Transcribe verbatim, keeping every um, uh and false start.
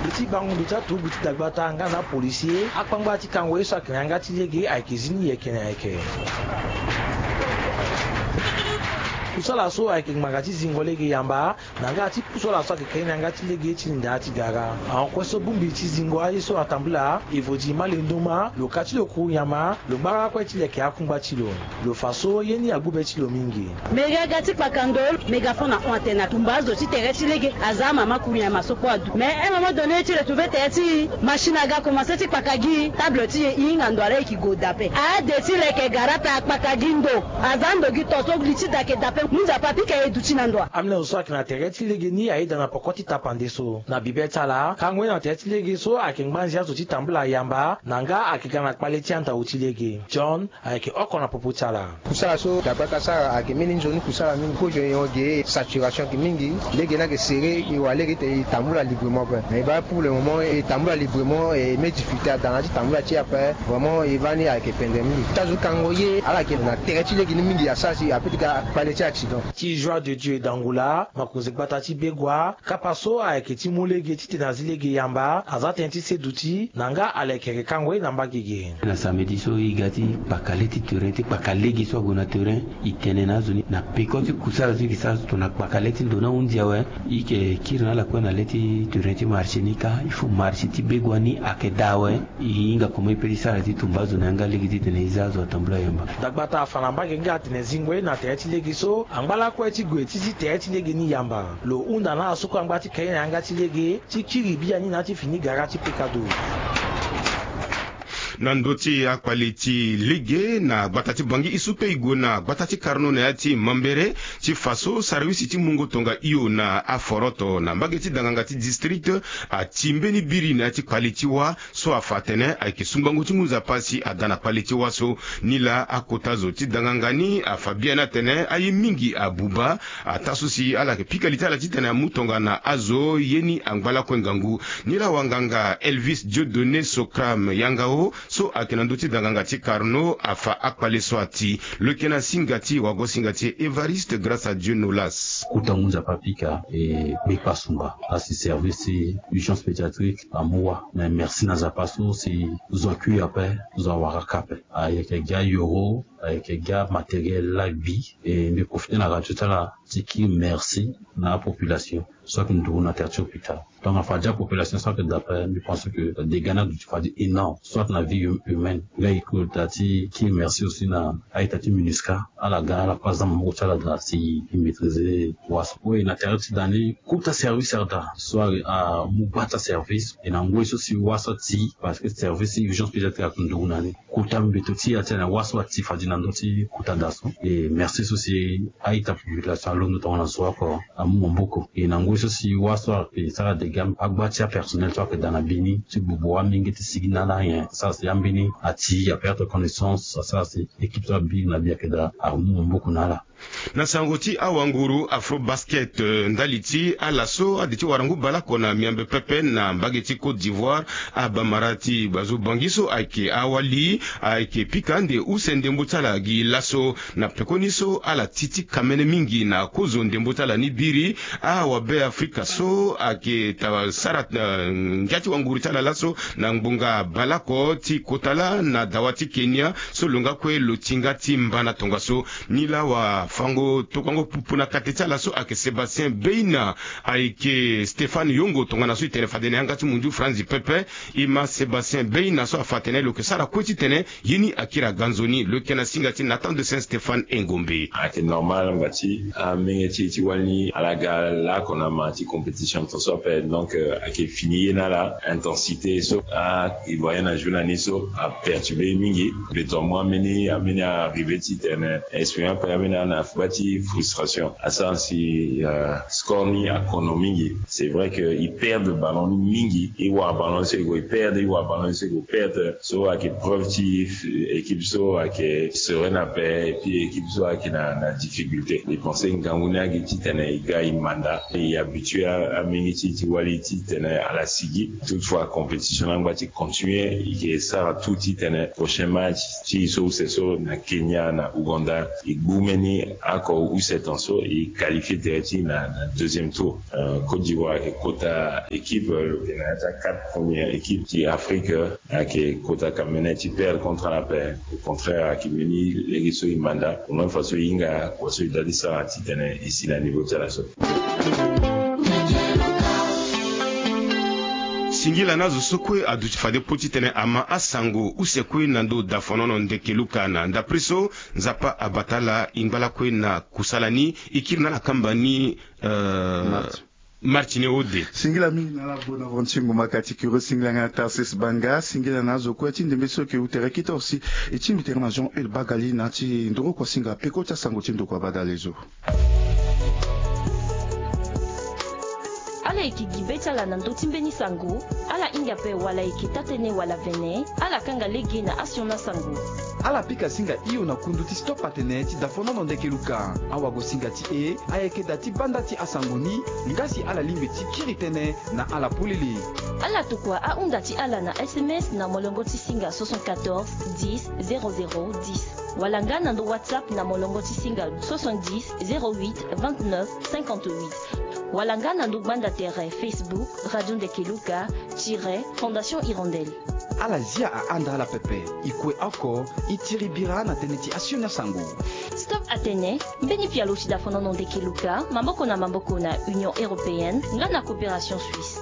Li ti bango ndo ti aturugu ti dagbata nga na apolisier, akpangba ti kango ye so ayeke na yanga ti lege ayeke zi ni yeke na yeke. Kusala so ayeke ngbanga ti zingo lege yamba, na nga ti pusu ala so ayeke ke ni na yanga ti lege ti linda ti gara. Ahon kue so bongbi ti zingo aye so atambula, evo di malendo ma, lo ka ti lo kuru nyama, lo gbara kue ti leke akungba ti lo. Lo fa so ye ni agbu be ti lo mingi. Mega ga ti kpaka ndo, mega fo na hon atene atumba azo ti tere ti lege, aza amama kuru nyama so kue adu. Mais un moment donné ti retrouver tere ti machine aga commencer ti kpaka gi, table ti e e hinga ndo ala e ki gue dape. Ade ti leke gara ape akpaka gi ndo, aza ndo gi to so li ti da ayeke dape. Mu Nzapa apika e duti na ndo. Amolenge so ayeke na tere ti lege ni ayeda na poko ti tapande so. Na bibe ti ala, kango ye na tere ti lege so ayeke ngbanzi azo ti tambula yamba, na nga ayeke ga na kpale ti andau ti lege. John ayeke oko na popo ti ala. Kusala so dagbata asara ayeke mbeni nzoni kusala mingi. Kozo nyon ge saturation ayeke mingi. Lege ni ayeke serré, e wara lege ti tene e tambula librement ape. Mais e baa pour le moment e tambula librement, e mu difficulté ada na ya ti tambula ti e ape. Vraiment e baa ni ayeke pendere mingi. Ti azo ti kango ye ala yeke na tere ti lege ni mingi asara si apeut ti ga kpale ti accident. Ti Joie de Dieu Dangula, makonzi gbata ti Begua, kapa so ayeke ti mu lege titene azi lege yamba, aza tënë ti se duti, na nga ala yeke yeke kango ye na mbage ge. Na samedi so e ga ti kpaka le ti terrain, ti kpaka lege so ague na terrain, e tene na azo ni na peko ti kusala so e yeke sara so tongana kpaka le ti ndo ni ahunzi awe, e yeke kiri na ala kue na le ti terrain ti marché ni kâ, il faut marché ti Begua ni ayeke daa awe. E hinga comment e peut ti sara ti tumba azo na yanga lege titene e za azo atambula yamba. Dagbata afa na mbage nga atene zingo ye na tere ti lege so angba lakue ti gue ti zi tere ti lege ni yamba. Lo hunda na ala so kue angba ti ke ye na yanga ti lege ti kiri biani na ya ti fini gara ti pekado. Na ndö ti akpale ti lege na gbata ti Bangui, e su pe e gue na gbata ti Carnot na ya ti Mambéré ti fa so sarawisi ti mungo tonga hio na aforoto na mbage ti danganga ti district ati mbeni biri na ya ti kpale ti wâ so afa atene ayeke sungbango ti ngu nzapa si ada na kpale ti wâ so. Nilaa akota zo ti danganga ni afa biani atene aye mingi abuba, ataa so si ala yeke pika li ti ala titene amu tongana azo ye ni angba lakue ngangu. Nilaa wanganga Elvis Dieudonné Socram Yangao so ayeke na ndö ti danganga ti Carnot afa akpale so ati. Lo yeke na singa ti wago-singa ti e Évariste Grâce à Dieu Nolas. Kota ngu nzapa apika e kpe kpasungba asi service ti urgence pédiatrique amu wâ. Mais merci na nzapa so si zo akui ape, zo awara kâ ape. Ayeke gi ayoro, ayeke gi amatériel laa gbi. E mbi profité na radio ti ala ti kiri merci na apopulation so ayeke nduru na tere ti hôpital. Donc afa gi apopulation so ayeke daa ape, mbi pense que dégât ni aduti fade énorme soit na vie hum- humaine. Nga e kota ti kiri merci aussi na a-ita ti MINUSCA. Ala ga ala kue aza maboko ti ala daa si e maîtriser wâ so. Oui, na tere ti da ni kota service daa so amu baa ti aservice. E na ngoi so si wâ so ati, parce que service ti urgence pédiatrique ayeke nduru na ni. Kota mbeto ti e atene wâ so ati fade na ndö ti kota daa so. E merci so si a-ita population alondo tongana zo oko amu maboko. E na ngoi so si wâ so ayeke sara dégât, agba ti apersonnel so ayeke daa na mbeni ti gbubu amenge ti sigi na ala nyen sara si ambeni ati aperdre connaissance, asara si équipe so abiri na bi ayeke daa amu maboko na ala. Na sango ti awanguru Afrobasket, eh, ndali ti ala so ade ti wara ngu bale oko na miambe pepe na mbage ti Côte d'Ivoire, abamara ti Bazo Bangui so ayeke awali ayeke pika ande use ndembo ti ala gi laso. Na pekoni so ala ti ti kamene mingi na kozo ndembo ti ala ni biri, awabe Afrika so ayeke ta sara, eh, ngia ti wanguru ti ala laso na ngbonga bale oko ti kota laa na dawa ti Kenya so lo nga kue lo ti nga ti mba na tongaso. Nilaa wafango tokuango pupu na kate ti ala so ayeke Sébastien Beina, ayeke Stéphane Yongo tongana so e tene fade na yanga ti mundu franzi pepe. E ma Sébastien Beina so afa atene lo yeke sara kue titene ye ni akiri aga nzoni. Lo yeke na singa ti Nathan de Saint Stéphane Engombe. Ayeke normal angba ti amenge ti e ti wali ni ala ga laoko na ma ti compétition tongaso ape. Donc, euh, ayeke fini ye na ala intensité so a e voyait na journée ni so aperturbe ye mingi. Beto amu ambeni ambeni arrivé titene exprimé ape ambeni ana gba ti frustration asara si, euh, score ni akono mingi. C'est vrai que e perdre ballon ni mingi, e wara ballon ni so e gue e perdre, e wara ballon ni so e gue e perdre. So ayeke preuve ti équipe so ayeke sereine ape, et puis équipe so ayeke na, na difficulté. E pense ngangu ni ayeke titene e ga e manda, e habitué a, amenge ti e ti wali titene ala sigi. Toutefois compétition ni angba ti continuer, e yeke sara tout titene prochain match ti e so use so na Kenya, na Ouganda, e gbu mbeni Oko use tan so e qualifie tere ti na deuxième tour. Côte d'ivoire ayeke kota équipe lo yeke na ya ti a quatre première équipe ti afrique. Ayeke kota cameroun ti perdre contre ala ape. Au contraire ayeke mbeni lege so e manda au moins façon e hinga kua so e dali sara titene e si na niveau ti ala so. Singila na azo so kue aduti fade po titene ama asango use kue na ndo dafonono ndeke luka na ndapre so nzapa abata ala ingba lakue na kusala ni. E kiri na ala kamba ni. Martine ode. Singila mingi na ala bona ronti ngumaka ti kiro singila nga na tarsis banga singila na azo kue ti ndembe so eke utere kita osi. E ti mbi tere na jean el bagali na ti ndoro kua singa peko ti asango ti ndokua badale zo. Ala yeke gi be ti ala na ndö ti mbeni sango. Ala hinga ape wala ayeke taa-tënë wala vene. Ala kanga lege na asioni asango. Ala pika singa hio na kundu ti stop atene ti dafonono ndeke luka. Awagosinga ti e ayeke daa ti banda ti asango ni. Nga si ala lingbi ti kiri tënë na ala polele. Ala tokua ahunda ti ala na sms na molongo ti singa soixante-quatorze dix zéro zéro dix. Wala nga na ndo whatsapp na molongo ti singa soixante-dix zéro huit vingt-neuf cinquante-huit. Wala nga na ndo gbanda tere facebook radio ndeke luka tire fondation hirondelle. Ala zia ahanda ala pepe. E kue oko e tiri bira na tënë ti asioni asango. Stop atene mbeni pialo ti dafonono ndeke luka maboko na maboko na union européenne nga na coopération suisse.